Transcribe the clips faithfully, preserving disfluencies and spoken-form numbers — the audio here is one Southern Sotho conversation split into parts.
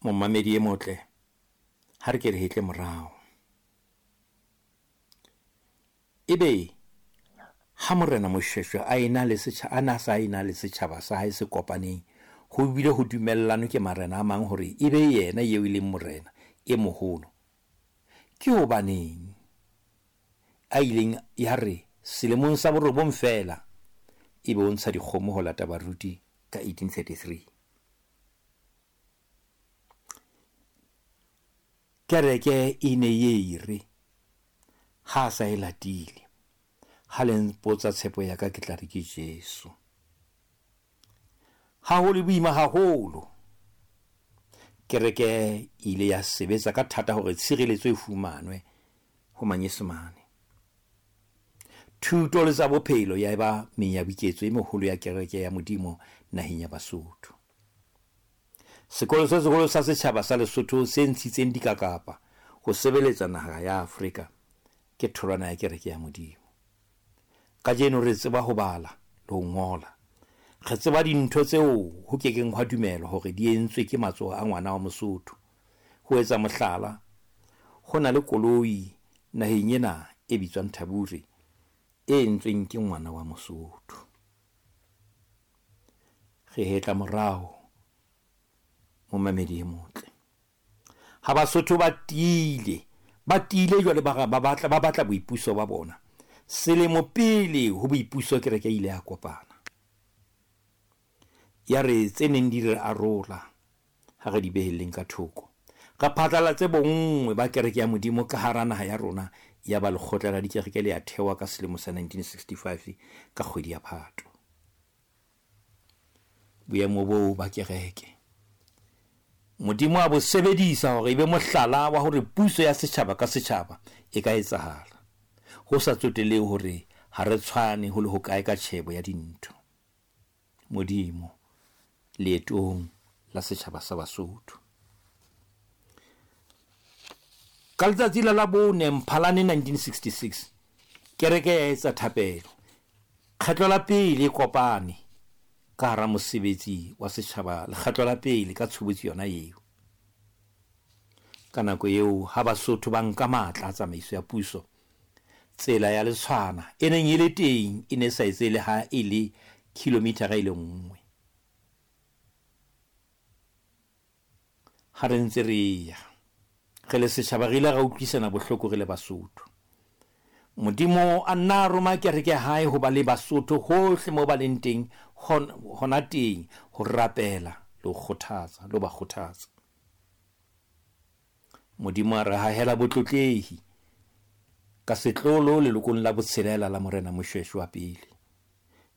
Momamedi e motle, ha re ke re hetle morao. Ebe ha Morena Moshoeshoe a ena le setjhaba, a na sa ena le setjhaba sa hae se kopaneng, ho bile ho dumellanwe ke marena a mang hore ebe yena eo e leng morena e moholo. Ke hobaneng a ileng ya re selemong sa borobong feela ebe o ntsha dikgomo ho lata baruti ka eighteen thirty-three? Kereke e ne ye re ha sa e latile, ha le mpotsa tshepo ya ka ke tla re ke Jesu. Ha ho le boima haholo, kereke e ile ya sebetsa ka thata hore tshireletso e fumanwe ho Manyesemane. Thuto le tsa bophelo ya eba menyabuketso e meholo ya kereke ya Modimo naheng ya Basotho. Sekolo se seholo sa setjhaba sa Lesotho se ntshitseng dikakapa ho sebeletsa naha ya Afrika ke tholwana ya kereke ya Modimo. Kajeno re tseba ho bala le ho ngola. Re tseba dintho tseo ho kekeng hwa dumelwa hore di entswe ke matsoho a ngwana wa Mosotho. Ho etsa mohlala, ho na le koloi naheng ena e bitswang Thabure e entsweng ke ngwana wa Mosotho. Re hetla morao, momamedi e motle. Ha Basotho ba tiile, ba tiile jwale ba ba batla ba batla boipuso ba bona. Selemo pele ho boipuso kereke e ile ya kopana. Ya re tse neng di re arola ha re di behelleng ka thoko. Re phatlalatse bonngwe ba kereke ya Modimo ka hara naha ya rona, ya ba lekgotla la dikereke le ya thewa ka selemo sa nineteen sixty-five ka kgwedi ya Phato. Boemo boo ba kereke Modimo a bo sebedisa hore ebe mohlala wa hore puso ya setjhaba ka setjhaba e ka etsahala, ho sa tsotelehe hore ha re tshwane ho le hokae ka tjhebo ya dintho. Modimo leetong la setjhaba sa Basotho. Ka letsatsi la Labone Mphalane nineteen sixty-six, kereke ya etsa thapelo. Kgetlo la pele e kopane ka hara mosebetsi wa setjhaba, lekgetlo la pele ka tshobotsi yona eo. Ka nako eo ha Basotho ba nka matla a tsamaiso ya puso, tsela ya Letshwana e neng e le teng e ne sa etse le ha e le kilometera e le nngwe. Ha re ntse re ya re le setjhaba, re ile ra utlwisana bohloko re le Basotho. Modimo a nna a roma kereke ya hae ho ba le Basotho hohle moo ba leng teng, hona teng ho rapela le ho kgothatsa, le ho ba kgothatsa. Modimo a re hahela botlotlehi ka setlolo lelokong la botshelela la Morena Moshoeshoe wa pele.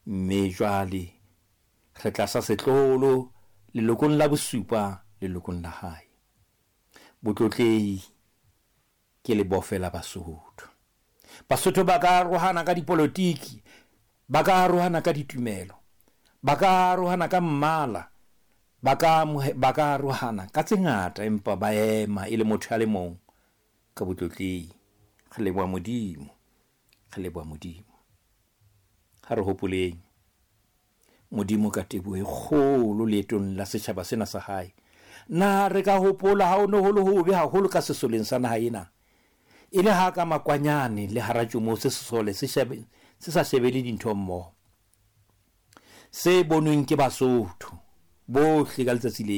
Mme jwale re tlasa setlolo lelokong la bosupa lelokong la hae. Botlotlehi ke lebofe la Basotho. Basotho ba ka arohana ka dipolotiki, ba ka arohana ka ditumelo, ba ka arohana ka mmala, ba ka ba ka arohana ka tse ngata, empa ba ema e le motho a le mong ka botlotlehi. Re leboha Modimo, re leboha Modimo. Ha re hopoleng Modimo ka teboho e kgolo leetong la setjhaba sena sa hae. Na re ka hopola ha o ne ho le hobe haholo ka sesoleng sa naha ena, e le ha ka makwanyane le hara tšomo se sesole se shebe se sa shebele dintho mmoho, se bonweng ke Basotho bohle ka letsatsi leo.